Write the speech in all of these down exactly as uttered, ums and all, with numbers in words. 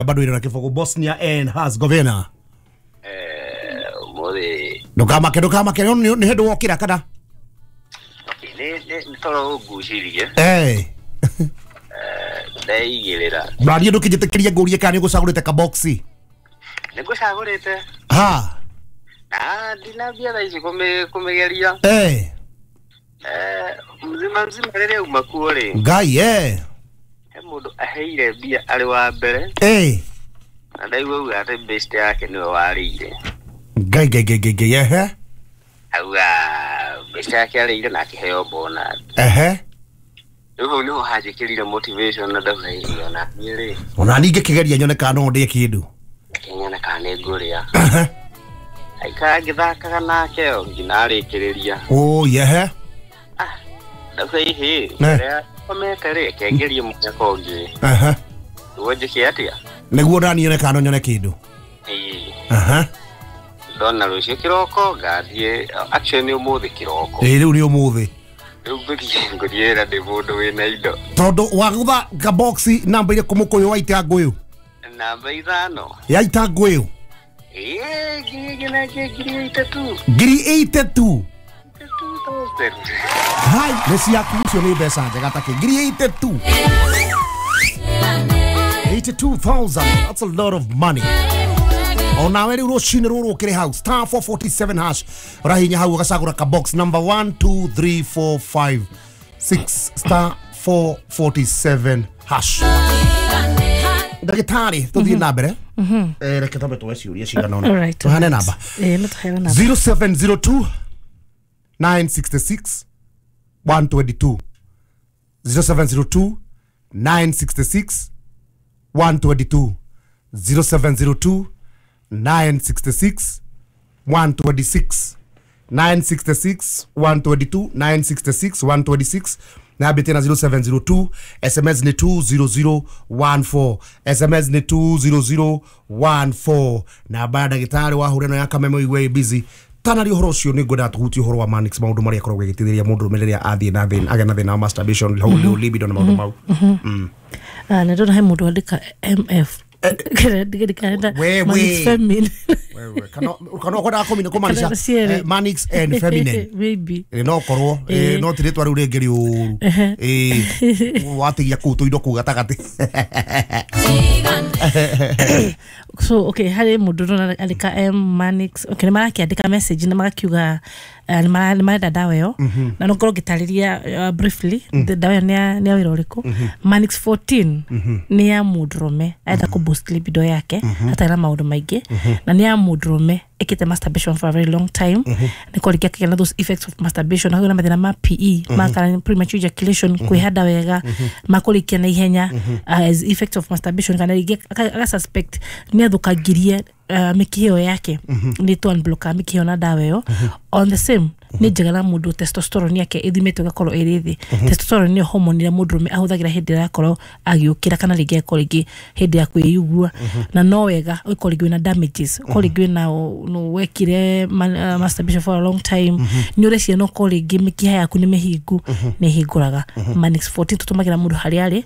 Bado ira kĩbũgũ Bosnia and Herzegovina. Eh, ũmũthĩ Ndũkamake ndũkamake nĩ nĩ hĩndĩ wokĩra kana? Nĩ nĩ toro ũngucĩrie. Eh. Ndeigĩrĩra. Na niĩ ndũkĩnjĩtĩkĩrie ngũrie kana nĩ ũgũcagũrĩte kaboxi. Nĩ ngũcagũrĩte. Ha. Na ndinambia thaa ici kũmĩ- kũmĩgeria. Eh. Eh, mzima mzima rĩrĩa uma kuo rĩ, Ngai eh. he mũndũ aheire mbia arĩ wa mbere Eh. na ndaigua auga atĩ best yake nĩwe warĩire. Ngai ngai ngai ngai ngai ehe. Auga best yake arĩire na akĩheo bonus. Ehe. Rĩu hau nĩho hanjĩkĩrire motivation na ndauga ĩ ona niĩ rĩ, Ona niĩ ngĩkĩgeria nyone kana no ndĩe kĩndũ. reke nyone kana nĩ ngũrĩa. Ehe. Aikara ngĩthakaga nake o nginya arĩkĩrĩria. Oh yehe. Ah, ndauga ihĩ, Ne. ũrĩa komete rĩ, reke ngerie mũnyaka ũngĩ. Ehe. Nĩguo njĩke atĩa? Nĩguo ona niĩ nyone kana no nyone kĩndũ. Ĩĩ. Ehe. Ndona rũciũ kĩroko ngathiĩ, actually nĩ ũmũthĩ kĩroko. Ĩĩ rĩu nĩ ũmũthĩ. Rĩu ngũthiĩ ngũthiĩ wĩra ndĩ mũndũ wĩna indo. Tondũ wagũtha kaboxi namba irĩkũ mũkũyũ wa itangũyũ? Namba ithano. Ya itangũyũ. Ĩĩ, ngiri igĩrĩ na ngiri itatu. Ngiri eighty-two. Two thousand. Hai, nĩ ciaku icio nĩ mbeca njega ta kĩ. Ngiri eighty-two. eighty-two thousand. That's a lot of money. Onawe rĩu rũcinĩ rũrũ ũkĩrĩ hau star four forty-seven hash ũrahinya hau ũgacagũra ka box number one two three four five six star four forty-seven hash. Ndagĩtarĩ tũthiĩ na mbere. Eh, reke twambe tuoe ciũria cigana ũna. Alright, Tũheane namba. Eh, no tũheane namba. zero seven zero two nine sixty-six one twenty-two. zero seven zero two nine sixty-six one twenty-two. zero seven zero two nine sixty-six one twenty-six. nine sixty-six one twenty-two. nine sixty-six one twenty-six. Na tena zero seven zero two S M S ni two zero zero one four. S M S ni two zero zero one four. Na baada ndagĩtarĩ wa hũreno ya kameme iwe busy. Tana ri ũhoro ũcio nĩ ngwenda tũhutie ũhoro wa Manix maũndũ marĩa akoragwo agĩteithĩrĩria mũndũ ũrũme rĩrĩa athiĩ na thĩna agĩa na thĩna wa masturbation mm-hmm. libido na maũndũ mau. Mm. Ah, nĩ ndona he mũndũ andĩka M F. We, Manix feminine. Wewe kana kana ũkwendaga kũmina kũmaanisha Kana cierĩ. Manix and feminine. Maybe. Ĩ no korwo Eh. no ti rĩtwa rĩu rĩngĩ rĩũru. Ĩ watigia kũu tũindo kũu gatagatĩ. So okay, harĩ mũndũ ndona andĩka M Manix. Okay, nĩ marakĩandĩka message na magakiuga nĩ marenda ndawa ĩyo. Na no ngorwo ngĩtarĩria briefly ndawa ĩyo nĩ ya wĩra ũrĩkũ. Manix fourteen nĩ ya mũndũrũme arenda kũ boost libido yake atarĩ na maũndũ maingĩ, na nĩ ya mũndũrũme ĩkĩte masturbation for a very long time. Nĩ korwo rĩngĩ akĩgĩa na those effects of masturbation, akagĩa na mathĩna ma P E, ma kana premature ejaculation, kwĩhanda wega, ma kũrĩkia na ihenya as effects of masturbation, kana rĩngĩ aga suspect nĩ athũkangirie mĩkiha ĩyo yake, nĩ tũ unblock mĩkiha ĩyo na ndawa ĩyo. On the same nĩ njega na mũndũ testosterone yake ĩthimĩtwo ĩgakorwo ĩrĩ thĩ. Testosterone nĩyo hormone ĩrĩa mũndũrũme ahũthagĩra hĩndĩ ĩrĩa akorwo agĩũkĩra kana rĩngĩ akorwo rĩngĩ hĩndĩ ya kwĩigua. Na no wega ũkorwo rĩngĩ wĩna damages, ũkorwo rĩngĩ wĩna no wekire masturbation for a long time, nĩ ũreciria no ũkorwo rĩngĩ mĩkiha yaku nĩ mĩhingu, nĩ ĩhingũraga. Manix fourteen tũtũmagĩra mũndũ harĩa arĩ,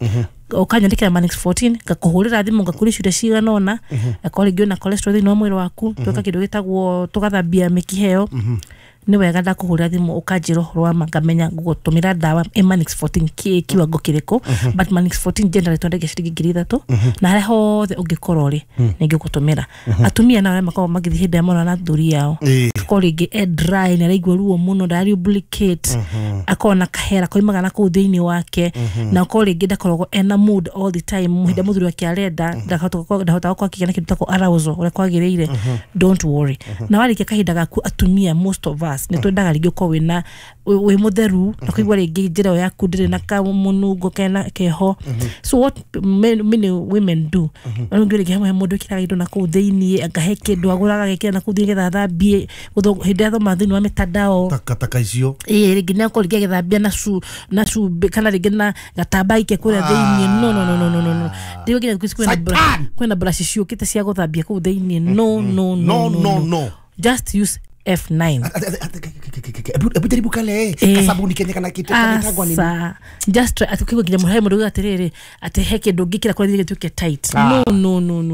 ũkanyandĩkĩra Manix fourteen ngakũhũrĩra thimũ ngakũria ciũria cigana ũna, akorwo rĩngĩ wĩna cholesterol thĩinĩ wa mwĩrĩ waku, tweka kĩndũ gĩtagwo tũgathambia mĩkiha ĩyo. Nĩ wega ndakũhũrĩra thimũ ũkanjĩra ũhoro wa ma ngamenya ngũgũtũmĩra ndawa ĩ Manix fourteen kĩ kiwango kĩrĩkũ. But Manix fourteen generally twendagia ciringi ngiri ithatũ, na harĩa hothe ũngĩkorwo rĩ nĩ ngĩgũtũmĩra. Atumia nao arĩa makoragwo magĩthiĩ hĩndĩ ĩrĩa mona na athuri ao, akorwo rĩngĩ e dry nĩ araigua ruo mũno, ndara lubricate, akorwo na kahera koimaga na kũu thĩinĩ wake, na akorwo rĩngĩ ndakoragwo ena mood all the time, hĩndĩ ĩrĩa mũthuri wake arenda ndahotaga gũkorwo akĩgĩa na kĩndũ gĩtagwo arousal ũrĩa kwagĩrĩire. Don't worry. Na warĩkia kahinda gaku, atumia most of us nĩ twendaga rĩngĩ ũkorwo wĩna wĩ mũtheru na kũigua rĩngĩ njĩra ĩyo yaku ndĩrĩ na kamũnungo kena keho. So what many, many women do, rĩngĩ rĩngĩ hamwe mũndũ ĩkĩraga indo na kũu thĩinĩ, akahe kĩndũ agũraga agekĩra na kũu thĩinĩ nĩgetha athambie hĩndĩ ĩrĩa athoma thĩinĩ wa mĩtandao takataka icio. Ĩĩ, rĩngĩ nĩ akorwo rĩngĩ agĩthambia na cu na cumbĩ kana rĩngĩ na gatamba ike kũrĩa thĩinĩ. No no no no no no no. Rĩu nginya thikũ ici kwĩna kwĩna brush ciũkĩte cia gũthambia kũu thĩinĩ. No no no no no. Just use F nine. Hebu jaribu kale Eh. kasabuni kenye kana kitu kanaitagwa nini? Asa just try, ati ukigwa nginya mũhe mũndũ atĩrĩrĩ, atĩ he kĩndũ ũngĩkĩra kũrĩa gĩtuĩke tight. Ah. No, no, no, no.